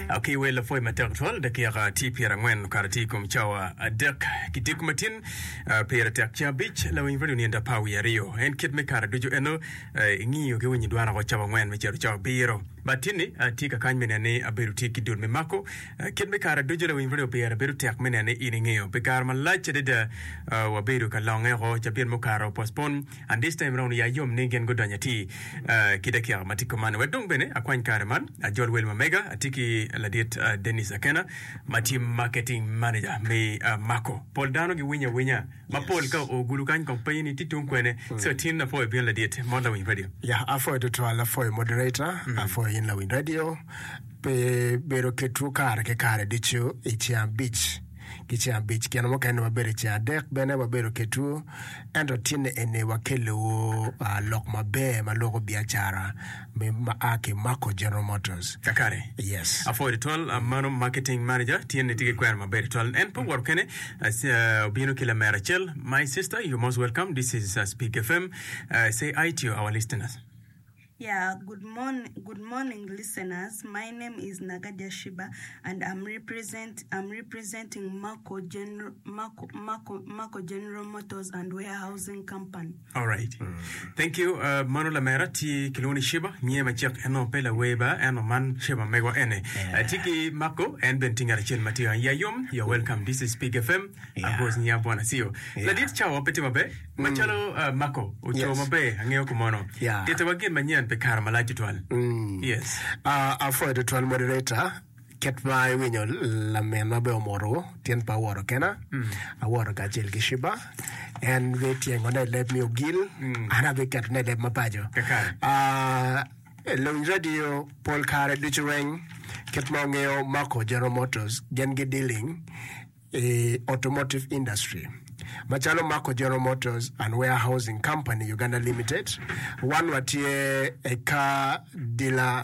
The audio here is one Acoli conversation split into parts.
Ki wel lapwoy matek twal dakika tye pyerangwen okato tye i kom cawa adek ki diko matin pire tek ceng abic lawiny radio nino apar wiye aryo en kit me kare ducu eno ingiyo ki winyo dwan oko cawa angwen me cito cawa abiro but tinni atye kakany me neno ni abedo tye ki dul me mako kit me kare ducu lawiny radio pire bedo tek me neno ni in ingeyo pi kare malac adada wabedo ka longe oko cabit mukato postpone And this time round ya yom ni gin gudonyo atir ki dakika ma tye kuman. Wek dong bene akwany kare man ajol wel ma mega. Atye ki ladit Dennis Akena ma tye marketing manager me Mako. Pol dano giwinyo awinya ma pol ka oo gulu kany kong penyo ni tye tung kwene. So tin apwoyo bino ladit mot lawiny radio. Ya apwoyo tutwal apwoyo moderator apwoyo in lawiny radio pi bedo ketwu kare ki kare ducu i ceng abic. ki ceng abic, kine mukene wabedo i ceng adek bene wabedo ketwu, ento tinne eni wakelliwu lok maber ma loko biacara ma a ki Mako General Motors. Kakare. Yes. Apwoyo tutwal mano marketing manager tyen tye ki kwena maber tutwal. En pe owoto kene, obino ki lamera acel. My sister, you most welcome. This is Speak FM. Say hi to our listeners. Yeah, good morning, good morning, listeners. My name is Nagaja Shiba, and I'm represent I'm representing Marco General Marco Marco Marco General Motors and Warehousing Company. All right. Thank you. Uh, mano lamera tye kilwongo ni Shiba, nyiye macek en nongo pe lawer ba, ento man Shiba megwa ene. Uh, tye ki Marco, en bene tye ngat acel ma tye ya yom. You're welcome. This is Big FM. Yeah. Agos nya bwana siyo. Yeah. Ladit cawa pe tye maber. Macalo uh, Marco oco Yes. maber angeyo kumono. Yeah. Tittiwa gin manyen pi kare malac tutwal. Yes. Uh, apwoyo tutwal moderator kit ma iwinyo laminwa bene omoto tyen pe awoto kena awoto kacel ki Shiba en bityengone i leb me ogil an abiketone i leb ma paco Kakare. Ah, luwiny radio pol kare ducu weng kit ma wungeyo Marco General Motors gin gi dealing i automotive industry. Macalo Mako General Motors and Warehousing Company Uganda Limited, wan watye i car dealer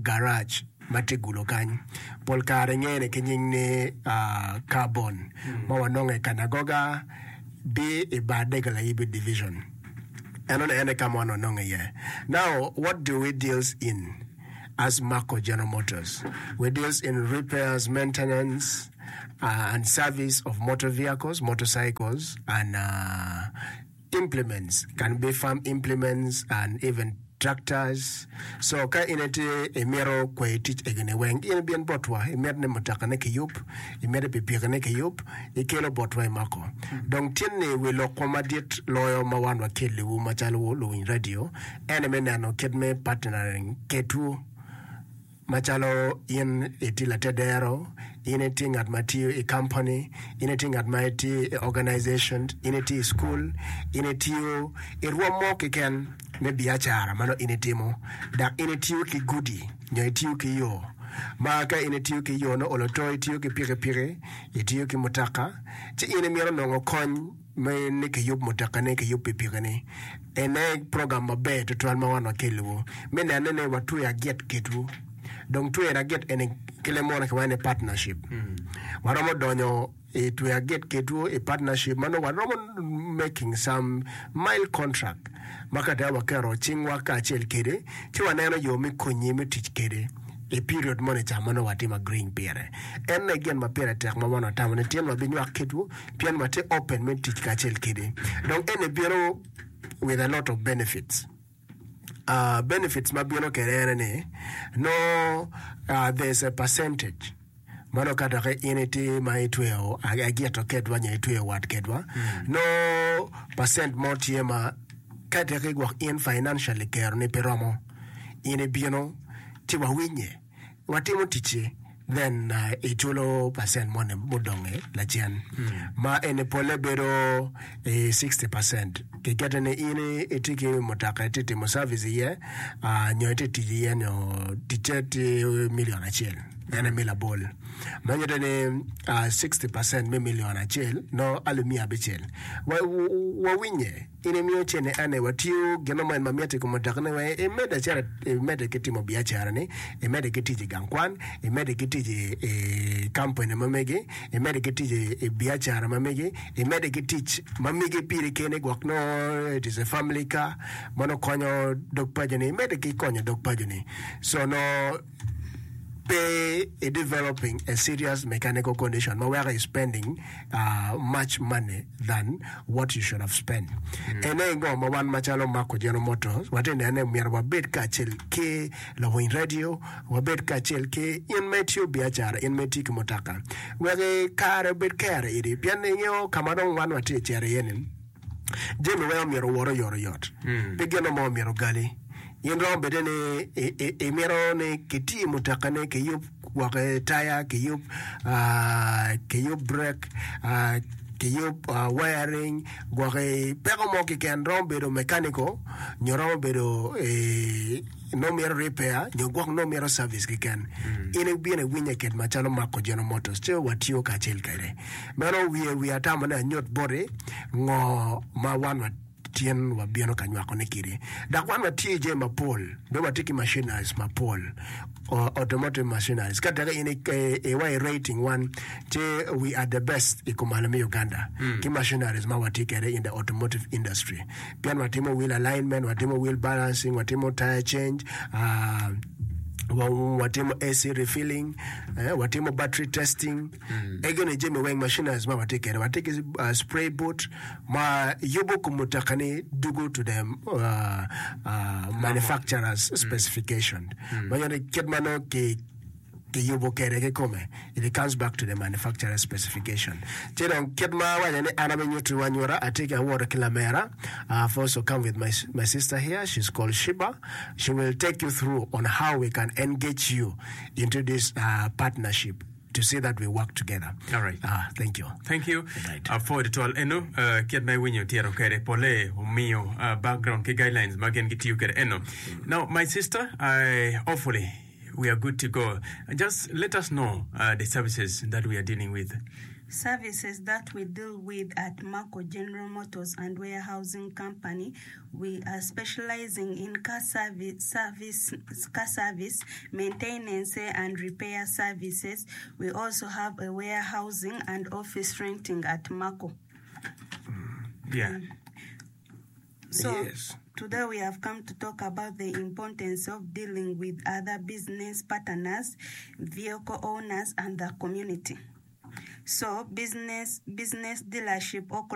garage ma tye gulo kany. Pol kare ngene ki nying ni Carbon ma wanongo i Kanagoga bi i bar Dega Layibi Division. Enoni en aye ka ma wan wanongo iye. Now, what do we deals in? As Mako General Motors, we deals in repairs, maintenance and service of motor vehicles, motorcycles and implements, can be farm implements and even tractors. So ka in itye imito kweyo tic egini weng, in ibin botwa, imito ni mutoka-ne kiyub, imito pikipiki-ne kiyub, ikelo botwa i Mako. Dong tye ni wi lokwa madit loyo ma wan wakelliwu macalo luwiny radio, En aye me neno kit me partnering ketwu macalo in itye latedero, in itye ngat ma tiyo i company, in itye ngat ma itye i organization, in itye i school, in itiyo i rwom mo keken me biacara ma nongo in itimo dok in itiyo ki gudi nyo itiyo ki yo ma ka in itiyo ki yo nongo olo to itiyo ki pikipiki, itiyo ki mutoka ci in imito nongo kony me ni kiyub mutokani, kiyub pikipikini. Ene program maber tutwal ma wan wakelliwu me nene ni watweyo agit kitwu. Dong tweyo agit eni ki leb munu kiwaco ni partnership. Waromo donyo i tweyo agit kitwu i partnership ma nongo waromo making some mild contract ma ka dong waketo cingwa kacel kede ci waneno yo me konyi me tic kede i period moni ca ma nongo watimo agreeing pire. En aye gin ma pire tek ma wan watamo ni tyen wabinywak kitwu pien watye open me tic kacel kede. Dong eni bino with a lot of benefits. Uh, benefits ma bino kede ene ni nongo uh, there's a percentage ma nongo ka doki in itye ma itweyo agito kedwa nyo itweyo wat kedwa nongo percent mo tye ma ka teki gwok in financially keroni pe romo in ibino ci wawinye watimo ticci then iculo percent moni mudonge lacen ma eni pole bedo i 60 percent kikete ni in itye ki mutoka itye timo service iye nyo itye tic iye nyo ticce tye million acel en aye me labol ma nyuto ni 60 percent me million acel nongo alip miya abicel wawinye In imiyo cente ane watiyo gin mo ma mitte i kom mutoka-ni wek imedde acel imedde ki timo biacara-ni, imedde ki tic i gang kwan, imedde ki tic i kampani ma megi, imedde ki tic i biacara ma megi, imedde ki tic ma megi piri keni gwok nongo it is a family car ma nongo konyo dog paco-ni, imedde ki konyo dog paco-ni. So nongo. Pe i developing a serious mechanical condition ma weko i spending much money than what you should have spent. Ene aye ngo ma wan macalo Marco General Motors watye neno ni myero wabed kacel ki lawiny radio, wabed kacel ki in ma itiyo biacara, in ma itiyo ki mutoka wek kare obed kere iri pien ingeyo ka ma dong wan watye ka cito iye ni Jami weng omyero owot oyotoyot, pe gin mo omyero ogali. In romo bede ni imito ni kiti mutokani, kiyub gwoke taya, kiyub kiyub brek, kiyub wiring, gwoki peko mo keken romo bedo mechanical nyo romo bedo nongo mito repair nyo gwok nongo mito service keken. In ibino iwinye kit macalo Marco General Motors ci watiyo kacel kwede. Meno wiye wiye atamo ni anyut boti ngo ma wan watyen wabino ka nywakone kidi. Dok wan watye i jami mapol, bene watye ki machineries mapol, automotive machineries. Ka teke in iwa i rating wan, ci we are the best i kumalo me Uganda ki machineries ma watye kwede in the automotive industry. Pien watimo wheel alignment, watimo wheel balancing, watimo tire change, watimo AC refilling, watimo battery testing. Egoni jami weng machineries ma watye kwede. Watye ki spray boot ma yubo kom mutoka-ni dugo to the manufacturer's specification. Ma nyuto ni kit ma nongo ki kiyubo kwede kikome, it comes back to the manufacturer's specification. Ci dong kit ma awaco ni an abinyutiwu anyuta, atye ki awoto ki lamera, I have also come with my, my sister here, she's called Shiba. She will take you through on how we can engage you into this uh, partnership to see that we work together. All right. Uh, thank you. Thank you. Right. Apwoyo tutwal eno uh, kit ma iwinyo tiro kwede pole omiyo uh, background ki guidelines ma gin gitiyo kwede eno. Now my sister, I hopefully we are good to go. Just let us know uh, the services that we are dealing with. Services that we deal with at Marco General Motors and Warehousing Company, we are specializing in car service, service, car service, maintenance and repair services. We also have a warehousing and office renting at Marco. Yeah. So, Yes. today we have come to talk about the importance of dealing with other business partners, vehicle owners, and the community. So, business, business dealership or.